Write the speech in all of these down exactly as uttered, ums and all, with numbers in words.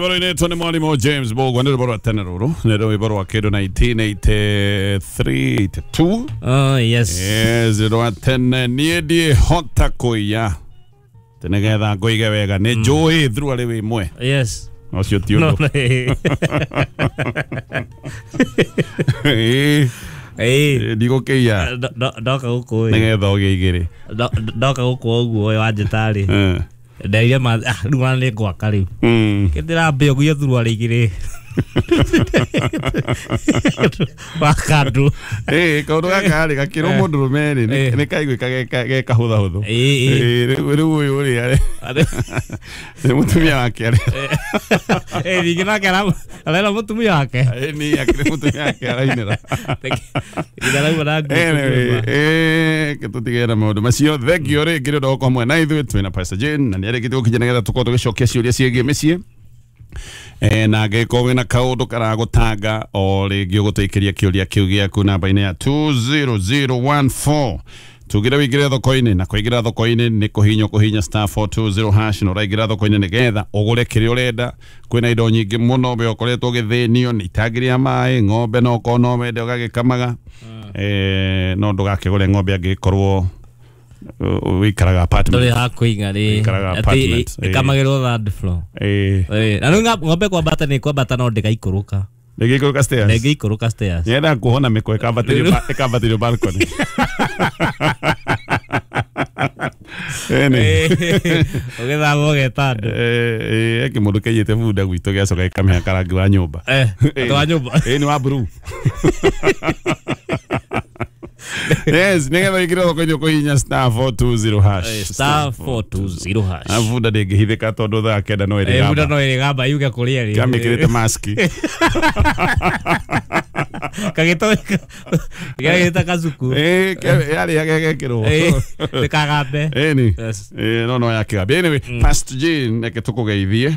Rwĩmbo rũinĩtwo nĩ mwarimũ James Mbũgua, nĩ rwĩmbo rwa tene rũrũ, nĩ rwĩmbo rwa kĩndũ nineteen eighty-three eighty-two. Oh yes. Yes, rwa tene. Niĩ ndiĩhota kũiya tĩ nĩgetha ngũige wega, nĩ njũĩ through arĩ wĩ mwe. Yes. Ũcio ti No. ũndũ. Ĩĩ, Eh. ndigũkĩiya Ndoka gũkũ ĩ. nĩgetha ũgĩe igĩrĩ. Ndoka gũkũ ũguo wanjĩta rĩ. Eh. Ndeire ma ah rĩu ona nĩ ngwaka rĩu. Mm. Kĩndĩrambia ũguo thuruarĩ igĩrĩ. Wakandũ. Ĩĩ, kaũndũ gaka rĩ gakĩrwo Eh. mũndũrũme rĩ Eh. nĩ kaiguĩka ge kahũthahũthũ. Ĩĩ, ĩĩ. Ĩĩ, rĩu rĩu ũyũ rĩ arĩ nĩ mũtumia wake arĩ Eh, ningĩ nake ara- arera mũtumia wake. Ĩĩ, nĩ akĩrĩ mũtumia wake arainĩra. Nginya arauma na nguo Anyway, nyũmba. eh, ke tũtigere na maũndũ macio. Thengio rĩngĩ nĩ ũndũ wa gũkorwo hamwe na ithuĩ. Twĩna Pastor Jane na nĩ arĩkĩtie gũkinya nĩgetha tũkorwo tũgĩcokia ciũria ciĩgiĩ mĩciĩ. Eh, na angĩkorwo wĩna kaũndũ karagũtanga o rĩngĩ ũgũtũikĩria kĩũria kĩu gĩaku namba-inĩ ya two zero zero one four. Tugire wĩingĩre thoko-inĩ, na kũingĩra thoko-inĩ nĩ kũhinywo kũhinya star four two zero hash, na ũraingĩra thoko-inĩ nĩgetha ũgũre kĩrĩa ũrenda. Kwĩna indo nyingĩ mũno we ũkoretwo ũgĩthĩnio nĩ itangi rĩa maĩ, ng'ombe no ũkorwo no wende ũgagĩkamaga. Eh, no ndũgakĩgũre ng'ombe angĩkorwo wĩikaraga apartment. Ndũrĩ hakũiga rĩ. Wĩikaraga Atĩ apartment, ĩĩ. ĩkamagĩrwo third floor. Ĩĩ. Ĩĩ, na rĩu ng'ombe kwambata nĩ kwambata no ndĩgaikũrũka. Ndĩngĩikũrũka stairs. Ndĩngĩikũrũka stairs. Nyendaga kuona mĩkwa ĩkambatĩrio ba- ĩkambatĩrio balcony. Ĩni. Ũgĩthama ũgeta andũ. Eh, eh, kĩmũndũ kĩaiyĩte bunda gwitũ gĩacoka gĩkamĩhaka rangi wa nyũmba. Eh, andũ a nyũmba. Ĩĩ, nĩ wa blue. Yes, nĩgetha wĩingĩre thoko-inĩ ũkũhihinya star four two zero hash. Eh, star four two zero hash. Na bunda ndĩngĩhithĩka tondũ thaa kenda no Eh, bunda ĩrĩgamba. no ĩrĩgamba yuge kũrĩa ĩrĩ. Kamĩkĩrĩte maski. Kagĩto gagĩta kacuku. Ĩĩ, ke- yarĩa gegekĩrwo. Ĩĩ, ndĩkagambe. Ĩni. Yes. Ĩĩ, no no yakĩgambia. Anyway, Pastor Jane, reke tũkũgeithie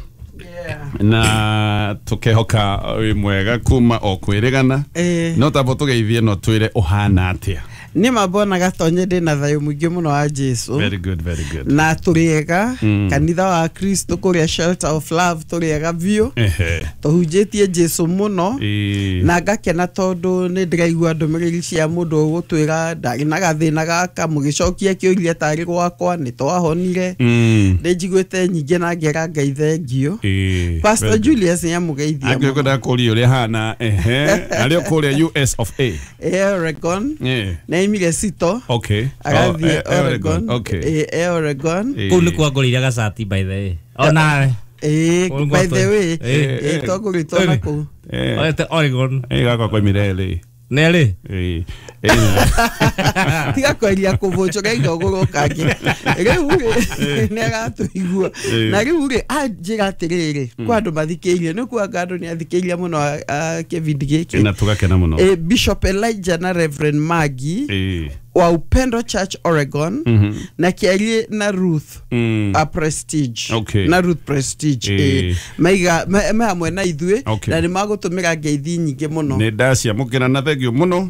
na tũkehoka wĩ mwega kuma o kwĩrĩgana. Ĩĩ. No tambo tũgeithie no twĩre ũhana atĩa. Nĩ mambona gatonye ndĩ na thayũ mũingĩ mũno wa Jesu. Very good, very good. Na tũrĩ ega Mm. kanitha wa Kristo kũrĩa Shelter of Love tũrĩ ega biũ. Ehe. Tũhunjĩtie Jesu mũno. Ĩĩ. Na ngakena tondũ nĩ ndĩraigua ndũmĩrĩri cia mũndũ ũgũtwĩra ndarĩ na gathĩna gaka, mũgĩcokia kĩũria tarĩ gwakwa nĩ twahonire. Mm. Nĩ njiguĩte nyingĩ na ngera Ngai thengio. Ĩĩ. Pastor Very good. Julius nĩ amũgeithia Angĩkorwo mũno. ndakũria ũrĩa hana, ehe, arĩ o kũrĩa U S of A. Eh, Oregon. Ĩĩ. Nĩ aimire Sito. Okay. Agathiĩ Oh, eh, Oregon. Okay. Eh, eh, Oregon. Ĩĩ. Kũu nĩkuo ngũrĩire gacati by the way. Onawe. Ĩĩ, Kũu by the way, Ĩĩ. ĩĩ, twagũrĩtwo na kũu. Eh. Oete Oregon. Ĩĩ, gakwa koimire L A. Nĩ rĩ? Ĩĩ. Ĩĩ. Tiga kweria kũbũnjũka indo ũgũrwo kangĩ rĩu rĩ nĩ agatũigua. Ĩĩ. Na rĩu rĩ anjĩra atĩrĩrĩ, kwa andũ mathikĩirie nĩ kuanga andũ nĩ athikĩirie mũno a- a kĩbindi gĩkĩ. Na tũgakena mũno. Eh, Bishop Elijah na Reverend Maggie Ĩĩ. wa Upendo Church Oregon Mhm. na kĩarie na Ruth Mm. a Prestige. Okay. Na Ruth Prestige. Ĩĩ. eh, maiga me me hamwe na ithuĩ Okay. na nĩ magũtũmĩra ngeithi nyingĩ mũno. Nĩ ndaciamũkĩra na thengio mũno.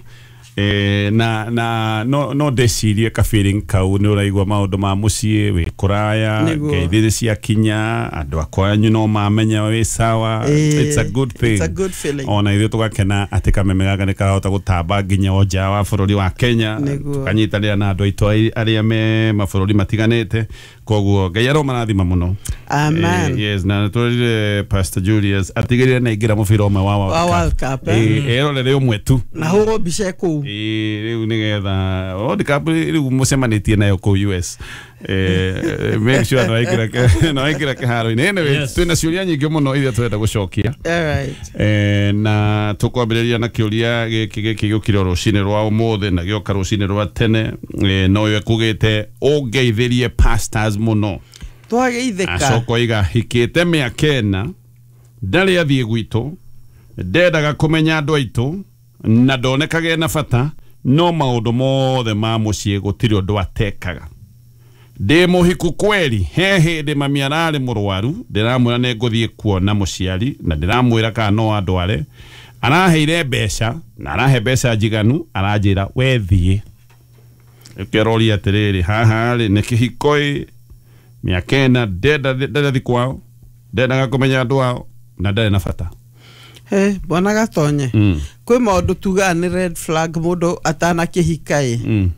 Eh, na na no no ndecirie ka feeling kau nĩ ũraigua maũndũ ma mũciĩ wĩ kũraya, Nĩguo. ngeithi nĩ ciakinya, andũ akwanyu no mamenya wĩ sawa. Eh, It's a good thing. It's a good feeling. Ona ithuĩ tũgakena atĩ kameme gaka nĩ karahota gũtamba nginya o nja wa bũrũri wa Kenya. Nĩguo. Tũkanyitanĩra na andũ aitũ ai- arĩa me mabũrũri matiganĩte, koguo Ngai aromarathima mũno. Amen. Eh, yes, na nĩtwĩrire Pastor Julius atigĩrĩre nĩ aingĩra mũbira ũmwe wa Wa World Cup, eh? Eh, erorere ũmwe tu. Na hũrwo mbica kũu. Ĩĩ, rĩu nĩgetha World Cup rĩu mũcemanĩtie nayo kũu U S. Eh, make sure nĩwaingĩra kĩ- nĩwaingĩra kĩharo-inĩ. Anyway, Yes. twĩna ciũria nyingĩ mũno iria tũrenda gũcokia. All right. Eh, na tũkwambĩrĩria na kĩũria gĩkĩ gĩkĩ gĩũkire rũcinĩ rwa ũmũthĩ na gĩoka rũcinĩ rwa tene. Eh, no yo ĩkugĩte ũngeithĩrie pastors mũno. Twageithĩka. Acoka oiga hikĩte mĩaka ĩna, ndarĩ athiĩ gwitũ, ndendaga kũmenya andũ aitũ na ndonekage ena bata, no maũndũ mothe ma mũciĩ gũtirĩ ũndũ atekaga. Ndĩ mũhiku kweri, he hĩndĩ mami ararĩ mũrwaru, ndĩramwĩra nĩ ngũthiĩ kuona mũciari na ndĩramwĩra kana no andware, araheire mbeca na arahe mbeca njiganu, aranjĩra we thiĩ. Ũkĩroria atĩrĩrĩ, haha rĩ nĩ kĩhiko ĩ mĩaka ĩna, ndenda ndendathi kwao, ndendaga kũmenya andũ ao. Na ndarĩ na bata. He, bwana Gatonye. Mm. Kwĩ maũndũ tugaga nĩ red flag mũndũ atanakĩhika ĩ. Mm.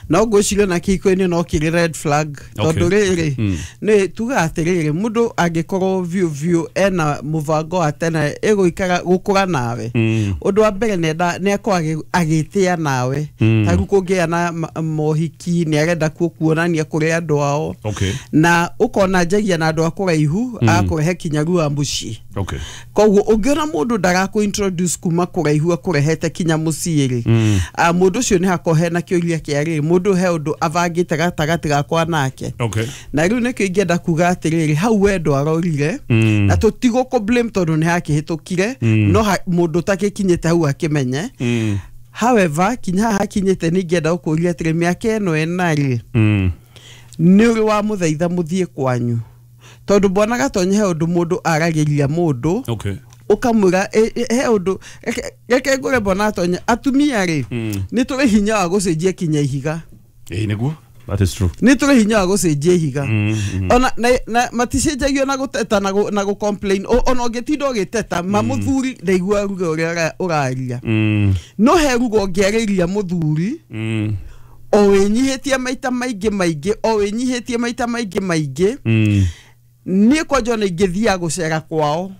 No ngwĩciria na kĩhiko-inĩ no kĩrĩ red flag Okay. tondũ rĩrĩ Mm. nĩ tugaga atĩrĩrĩ mũndũ angĩkorwo biũ biũ ena mũbango wa tene ĩgũikara gũkũra nawe Mm. ũndũ wa mbere nĩenda nĩakorwo agĩ- agĩtĩa nawe Mm. ta rĩu kũngĩa na ma- mohiki nĩ arenda kuo kuonania kũrĩ andũ ao Okay. na ũkona njagia na andũ a kũraihu agakũrehe kinya rua mũciĩ Okay. koguo ũngĩona mũndũ ndarakũ introduce kuma kũraihu akũrehete kinya mũciĩ rĩ Mm. ah, mũndũ ũcio nĩ hakorwo hena kĩũria kĩa rĩrĩ mũndũ he ũndũ abangĩte gatagatĩ gakwa nake Okay. na rĩu nĩkĩo ingĩenda kuga atĩrĩrĩ hau wendo arorire Mm. na tũtigũkũ blame tondũ nĩ hakĩhĩtũkire Mm. no ha, mũndũ ũtagĩkinyĩte hau akĩmenye Mm. however kinya haha hakinyĩte nĩ ingĩenda gũkũria atĩrĩ mĩaka ĩno ĩna rĩ Mm. nĩ ũrĩ wa mũthaitha mũthiĩ kwanyu tondũ bwana Gatonye he ũndũ mũndũ aragĩria mũndũ Okay. ũkamwĩra ĩ- ĩ- he ũndũ reke- reke ngũre bwana Gatonye atumia rĩ Mm. nĩ tũrĩ hinya wa gũcenjia kinya ihiga Ĩĩ nĩguo. That is true. nĩ tũrĩ hinya wa gũcenjia ihiga Mm, mm. ona na, na maticenjagio na gũteta na, gũ, na gũ complain O- ona ũngĩtinda ũgĩteta ma mũthuri ndaigua ruga ũrĩa ũra- ũraria Mm. no he ruga ũngĩarĩria mũthuri Mm. o wĩnyihĩtie maita maingĩ maingĩ o wĩnyihĩtie maita maingĩ maingĩ Mm. niĩ kwanja ona ingĩthiaga gũcera kwao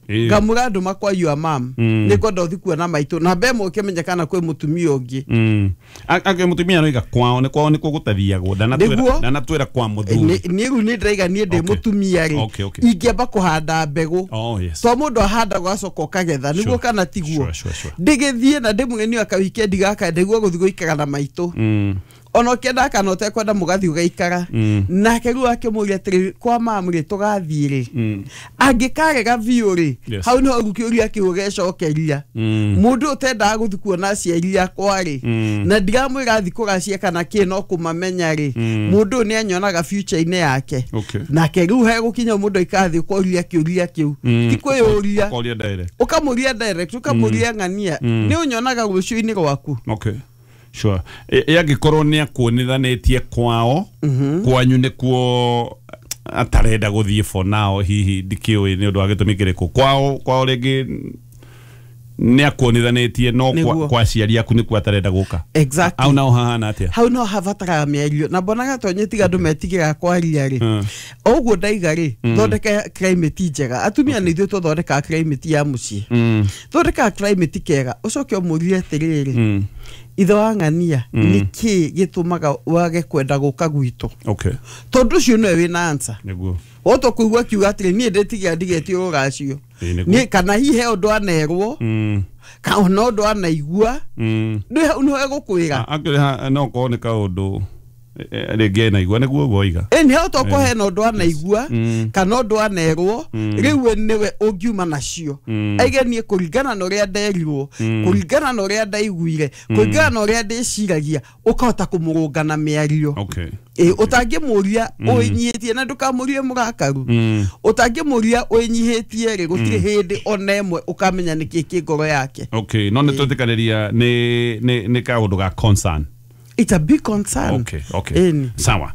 Ĩĩ. ngamũra andũ makwa your mam Mm. nĩ ngwenda ũthi kuona maitũ na mbe ĩmwe ũkĩmenya kana kwĩ mũtumia ũngĩ Mm. A- Angĩ mũtumia noiga kwao nĩ kwao nĩkuo gũtathiagwo Nĩguo. ndanatwĩra ndanatwĩra kwa mũthuri. niĩ rĩu nĩ ndĩraiga niĩ ndĩ Okay. mũtumia rĩ Okay, okay. ingĩamba kũhanda mbegũ Oh yes. to mũndũ ahandaga ũgacoka ũkagetha nĩguo Sure. kana tiguo Sure, sure, sure. ndĩgĩthiĩ na ndĩmũgeni aka wikendi gaka ndaigua gũthiĩ gũikara na maitũ Mm. ona ũkĩenda kana ũtekwenda mũgathiĩ ũgaikara Mm. nake rĩu akĩmũria atĩrĩ kwa mamu rĩ tũgathiĩ rĩ Mm. angĩkarega biũ rĩ Yes. hau nĩho rĩu kĩũria kĩu ũgecokeria Mm. mũndũ ũtendaga gũthiĩ kuona aciari akwa rĩ Mm. na ndiramwĩra thiĩ kũracia kana kĩ no kũmamenya rĩ Mm. mũndũ ũyũ nĩ anyonaga future-inĩ yake Okay. nake rĩu hegũkinya mũndũ aikathiĩ ũkoria kĩũria kĩu Mm. ti kwĩyũria Ũkoria direct. ũkamũria direct ũkamũria ng'ania Mm. nĩ ũnyonaga rũciũ-inĩ rwaku Okay. Sure. Ĩ angĩkorwo nĩ akuonithanĩtie kwao kwanyu nĩkuo atarenda gũthiĩ for now hihi ndikĩũĩ nĩ ũndũ wa gĩtũmi kĩrĩkũ kwao kwao rĩngĩ nĩ akuonithanĩtie no kwa, Nĩguo. kwa aciari aku nĩkuo atarenda gũka exactly au nao hahana atĩa hau no habataraga mĩario na mbonaga Gatonye tiga andũ metigĩraga kwaria rĩ Mm. o ũguo ndaiga rĩ thondeka climate njega atumia nĩ ithuĩ tũthondekaga climate ya mũciĩ Mm. thondekaga climate kega ũcoke ũmũrie atĩrĩrĩ Mm. ithe wa ng'ania nĩ kĩĩ gĩtũmaga wage kwenda gũka gwitũ Okay. tondũ ũcio nĩwe wĩna answer Nĩguo. wota kũigua akiuga atĩrĩ niĩ ndĩtigĩra ndigetio rũracio Ĩĩ, nĩguo. niĩ kana hihi he ũndũ anerwo Mm. kana ona ũndũ anaigua Mm. nĩ hau nĩho egũkwĩra Akĩrĩ ha no korwo nĩ kaũndũ eh, eh, rĩngĩ enaigua nĩguo ũguo oiga ĩ nĩ hau tokorwo hena ũndũ anaigua Mm. kana ũndũ anerwo Mm. rĩu we nĩwe ũngiuma nacio Mm. aige niĩ kũringana na ũrĩa nderirwo Mm. kũringana na ũrĩa ndaiguire kũringana na ũrĩa ndĩciragia ũkahota kũmũrũnga na mĩario Okay. ĩ ũtangĩmũria ũĩnyihĩtie na ndũkamũrie mũrakaru Mm. ũtangĩmũria ũĩnyihĩtie rĩ gũtirĩ hĩndĩ ona ĩmwe ũkamenya nĩkĩ kĩ ngoro yake Okay, no nĩ twetĩkanĩria nĩ nĩ nĩ kaũndũ ga concern. It's a big concern. Okay, okay. Ĩni. Sawa.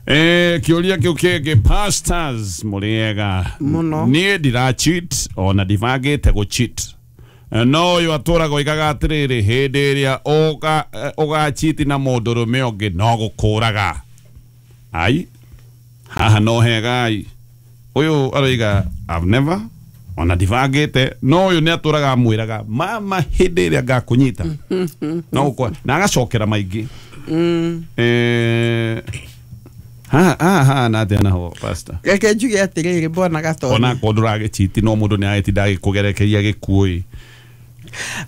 Eh, kĩũria kĩu kĩngĩ pastors mũrĩega Mũno. niĩ ndira cheat ona ndibangĩte gũ cheat Eh, no ũyũ atũraga oigaga atĩrĩrĩ hĩndĩ ĩrĩa ũga eh, ũgachiti na mũndũrũme ũngĩ no gũkũraga ai haha no hega ai ũyũ aroiga I've never ona ndibangĩte no ũyũ nĩ atũraga amwĩraga mama hĩndĩ ĩrĩa ngakũnyita no gũkũra na agacokera maingĩ Mm. Eh, haha haha hahana atĩa naho pastor Reke njuge atĩrĩrĩ bwana Gatonye ona korwo ndũragĩchiti no mũndũ nĩ agĩtinda agĩkũgerekeria gĩkuũ ĩ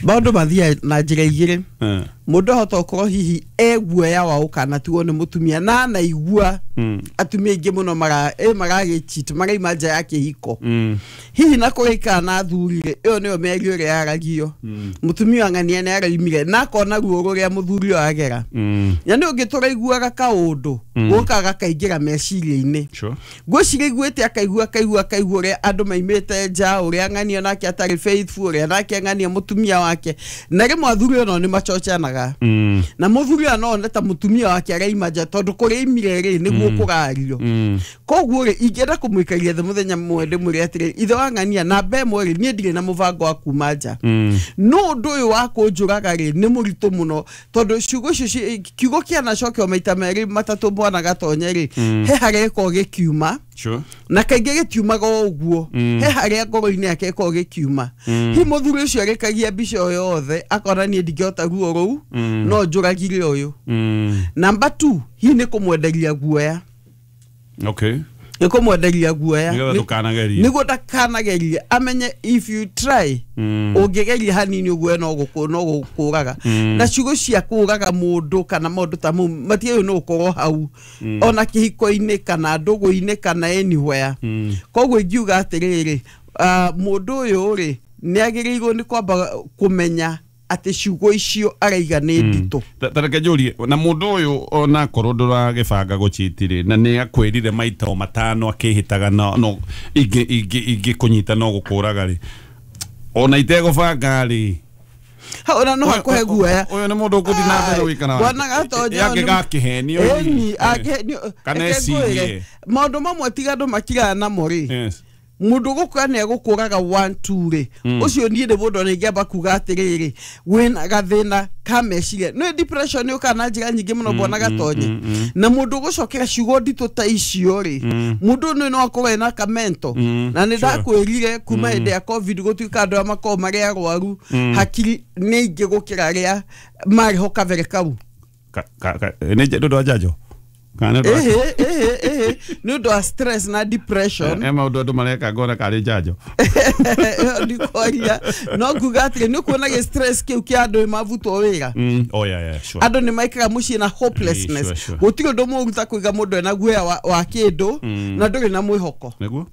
maũndũ mathiaga na njĩra igĩrĩ Eh, mũndũ ahota gũkorwo hihi e guoya wa ũkanatigwo nĩ mũtumia na anaigua mm, atumia aingĩ mũno mara ĩ maragĩchit maraima nja ya kĩhiko mm, hihi na kũrĩa na athuri rĩ ĩyo nĩyo mĩario ĩrĩa yaragio mũtumia wa ng'ania nĩ araimire na akona ruo rũrĩa mũthuri ũyũ agera mm, na nĩ ũngĩ tũraiguaga kaũndũ gũkaga gakaingĩra meciria-inĩ sure. ngwĩciria iguĩte akaigua akaigua akaigua ũrĩa andũ maimĩte nja ũrĩa ng'ania nake atarĩ faithful ũrĩa nake ng'ania mũtumia wake na rĩmwe athuri onao nĩ machochanaga njũraga na mũthuri ũyũ no one ta mũtumia wake araima nja tondũ kũrĩa imire rĩ nĩguo kũrario koguo rĩ ingĩenda kũmũikaria thĩ mũthenya mũmwe ndĩmwĩre atĩrĩ ithe wa ng'ania namba ĩmwe rĩ niĩ ndirĩ na mũbango wa kuma nja no ũndũ ũyũ wa kũnjũraga rĩ nĩ mũritũ mũno tondũ ciugo icio ci- kiugo kĩanacokio maita merĩ matatũ mwana Gatonye rĩ he harĩa gĩkoragwo gĩkiuma Sure. na kaingĩ gĩtiumaga o ũguo he harĩa ngoro-inĩ yake ĩkoragwo gĩkiuma hi mũthuri ũcio arĩkagia mbica ĩyo yothe akona niĩ ndingĩhota ruo rũu no njũragire ũyũ Mm. namba two hi nĩ kũmwenderia guoya Okay. nĩ kũmwenderia guoya Nĩgetha Nĩ- ndũkanagerie. nĩguo ndakanagerie amenye if you try ũngĩgeria hanini ũguo no gũkũ no gũkũraga na ciugo cia kũraga mũndũ kana maũndũ ta mau matiagĩrĩirwo nĩ gũkorwo hau ona kĩhiko-inĩ kana ndũgũ-inĩ kana anywhere koguo ingiuga atĩrĩrĩ ah, mũndũ ũyũ rĩ nĩ agĩrĩirwo nĩ kwamba kũmenya atĩ ciugo icio araiga nĩ nditũ Ta- ta reke njũrie na mũndũ ũyũ onakorwo ndũragĩbanga gũchiti rĩ na nĩ akwĩrire maita o matano akĩhĩtaga no no ingĩ ingĩ ingĩ kũnyita no gũkũraga rĩ ona itegũbanga rĩ hau ona no hakũhe guoya ũyũ nĩ mũndũ ũgũthiĩ na mbere gũikara Bwana Gatonye angĩgakĩhenio ĩni angĩhenio Kana reke ngwĩre, ecirie. maũndũ mamwe tiga andũ makiraga namo rĩ Yes. mũndũ gũkũra nĩ egũkũraga one two rĩ ũcio niĩ nĩ mũndũ ona ingĩamba kuga atĩrĩrĩ wĩna gathĩna ka meciria nĩ depression yũkaga na njĩra nyingĩ mũno bwana Gatonye na mũndũ ũgũcokera ciugo nditũ ta icio rĩ mũndũ ũyũ no akorwo ena kamento na nĩ ndakwĩrire kuma hĩndĩ ya covid gũtuĩka andũ arĩa makoragwo marĩ arwaru hakiri nĩ aingĩ gũkĩra arĩa marĩ ho kabere kau Ka- ka- ka- nĩ nĩ ũndũ wa njanjo kana nĩ ũndũ wa- ĩhĩ ĩhĩ ĩhĩ nĩ ũndũ wa stress na depression Eh, maũndũ andũ mareka ngona karĩ njanjo ĩyo ndikwaria no nguga atĩrĩ nĩ ũkuona gĩ stress kĩu kĩa andũ mavutwo wĩra Mm. Oh, yeah, yeah, sure. andũ nĩ maikaraga mũciĩ na hopelessness Sure, sure. gũtirĩ ũndũ mũũru ta kũiga mũndũ ena guoya wa, wa kĩndũ na ndũrĩ na mwĩhoko nĩguo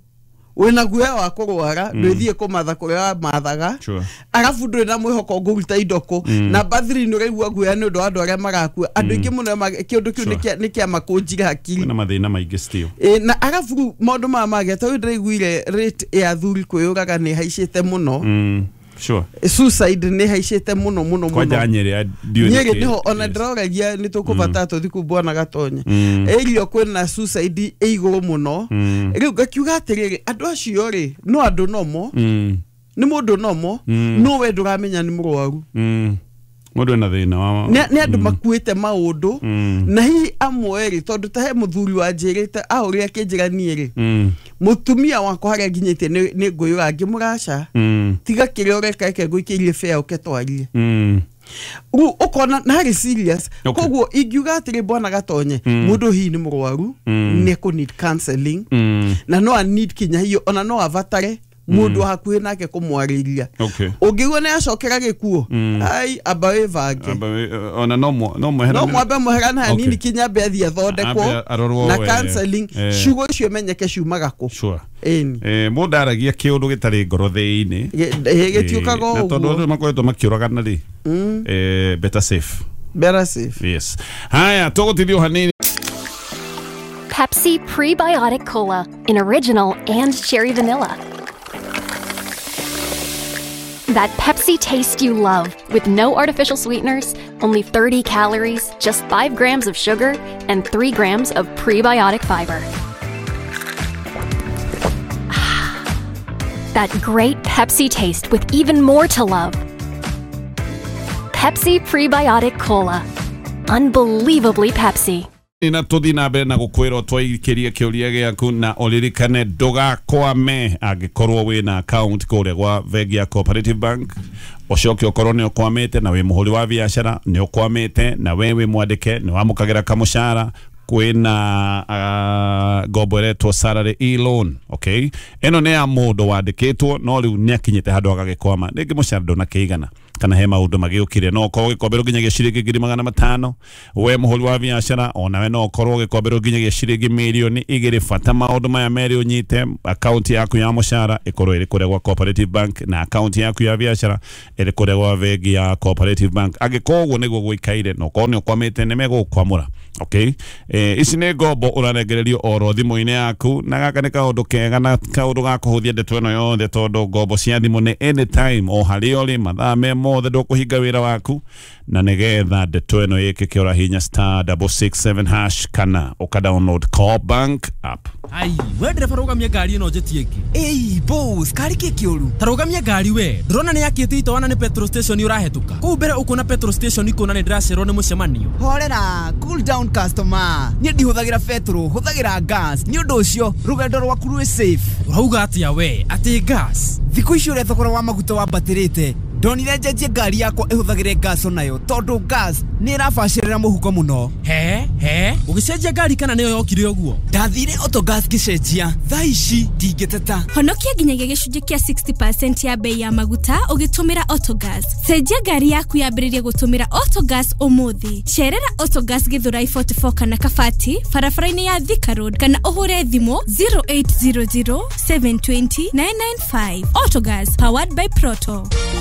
wĩna guoya wa kũrwara ndwĩthiĩ kũmatha kũrĩa wamathaga Sure. arabu ndũrĩ na mwĩhoko ngũruta indo kũ namba three nĩ ũraigua guoya nĩ ũndũ wa andũ arĩa marakua andũ aingĩ mũno ma- kĩũndũ kĩu Sure. nĩ kĩa- nĩ kĩamakũnjire hakiri kwĩna mathĩna maingĩ still Ĩ, na arabu rĩu maũndũ maya mangĩ ta rĩu ndĩraiguire rate ya athuri kwĩyũraga nĩ ĩhaicĩte mũno Mm. Sure. suicide nĩ ĩhaicĩte mũno mũno kwanja mũno Nyĩrĩ ndiũĩ Nyĩrĩ nĩkĩ. nĩho ona Yes. ndĩroragia nĩ tũkũbatara tũthiĩ kũu bwana Gatonye ĩrio kwĩna suicide ĩ igũrũ mũno rĩu ngakiuga atĩrĩrĩ andũ acio rĩ no andũ nomo Mm. nĩ mũndũ nomo no we ndũramenya nĩ mũrwaru Mm. Mũndũ ena thĩna wa nĩ nĩ andũ makuĩte maũndũ na hihi amwe rĩ tondũ ta he mũthuri wanjĩrĩte ahũrire akĩnjĩra niĩ rĩ Mm. mũtumia wakwa harĩa nginyĩte nĩ nĩ ngũyũra ngĩmũraca Mm. tiga kĩrĩa ũreka reke ngũikĩrie bea ũke twarie Mm. rĩu ũkona na harĩ serious Okay. koguo ingiuga atĩrĩ bwana Gatonye mũndũ hihi nĩ mũrwaru nĩ ekũ need counseling Mm. na no a need kinya hiyo ona no abatare mũndũ wa hakuhĩ nake kũmwarĩria Okay. ũngĩigua nĩ acokera gĩkuũ ai amba wĩbange Amba we- ona no mwe- no mweherane- no mwambe mweherane hanini Okay. kinya ambe athiĩ athondekwo Ambe arorwo na we- counseling eh. ciugo icio menyeke ciumaga kũ Sure. ĩni Eh, mũndũ aragia kĩũndũ gĩtarĩ ngoro thĩinĩ gĩtiũkaga na o tondũ ũguo andũ makoretwo makĩũragana rĩ eh, better safe better safe yes haya tũgũtithio hanini Pepsi Prebiotic Cola in original and cherry vanilla. That Pepsi taste you love with no artificial sweeteners, only thirty calories, just five grams of sugar, and three grams of prebiotic fiber. Ah, that great Pepsi taste with even more to love. Pepsi Prebiotic Cola. Unbelievably Pepsi. Na tũthiĩ na mbere na gũkwĩra twaikirie kĩũria gĩaku na ũririkane ndũgakwame angĩkorwo wĩna account kũrĩa gwa bengi ya Cooperative Bank ũcoke ũkorwo nĩ ũkwamĩte na wĩ mũhũri wa biacara nĩ ũkwamĩte na we wĩ mwandĩke nĩ wamũkagĩra kamũcara kwĩna uh, ngombo ĩretwo salary e-loan okay ĩno nĩ ya mũndũ wandĩkĩtwo no rĩu nĩ akinyĩte handũ agagĩkwama rĩngĩ mũcara ndũnakĩigana kana he maũndũ magĩũkire no ũkorwo ũgĩkomberwo nginyagia ciringi ngiri magana matano we mũhũri wa biacara onawe no ũkorwo ũgĩkomberwo nginyagia ciringi mirioni igĩrĩ bata maũndũ maya merĩ ũnyite akaunti yaku ya mũcara ĩkorwo ĩrĩ kũrĩa gwa Cooperative Bank na akaunti yaku ya biacara ĩrĩ kũrĩa gwa bengi ya Cooperative Bank angĩkorwo ũguo nĩguo gũikaire na ũkorwo nĩ ũkwamĩte nĩ megũgũkwamũra okay eh, ici nĩ ngombo ũrarengererio oro thimũ-inĩ yaku na gaka nĩ kaũndũ kega na kaũndũ ga kũhũthia ndeto ĩno yothe tondũ ngombo cia thimũ nĩ anytime o harĩa ũrĩ mathaa me mothe ndũkũhinga wĩra waku na nĩgetha ndeto ĩno ĩkĩke ũrahinya star double six seven hash kana ũka download Co-op Bank app. Ai, we ndereba rũgamia ngari ĩno njĩtie ĩngĩ. Ĩi boss, kari kĩ kĩũru? Ta rũgamia ngari we. Ndũrona nĩ yakĩte itawa na nĩ petrol station ũrahĩtũka. Kũu mbere ũkuona petrol station ikuona nĩ ndĩracererwo nĩ mũcemanio. Horera, cool down customer. Niĩ ndihũthagĩra petrol, hũthagĩra gas. Nĩ ũndũ ũcio rũgendo rwaku rwĩ safe. Ũrauga atĩa we? Atĩ gas? Thikũ ici ũrĩa thogora wa maguta wambatĩrĩte, ndonire njenjie ngari yakwa ĩhũthagĩre gas onayo tondũ gas nĩ ĩrabacĩrĩra mũhuko mũno. He he, ũgĩcenjia ngari kana nĩyo yokire ũguo? Ndathire Autogas ngĩcenjia, thaa ici ndingĩteta. Honokia nginyagia gĩcunjĩ kĩa sixty percent ya bei ya maguta ũgĩtũmĩra Autogas. Cenjia ngari yaku yambĩrĩrie gũtũmĩra Autogas ũmũthĩ. Cerera Autogas Githurai forty-four kana Kabati barabara-inĩ ya Thika Road kana ũhũre thimũ zero eight zero zero seven two zero nine nine five. Autogas, powered by Proto.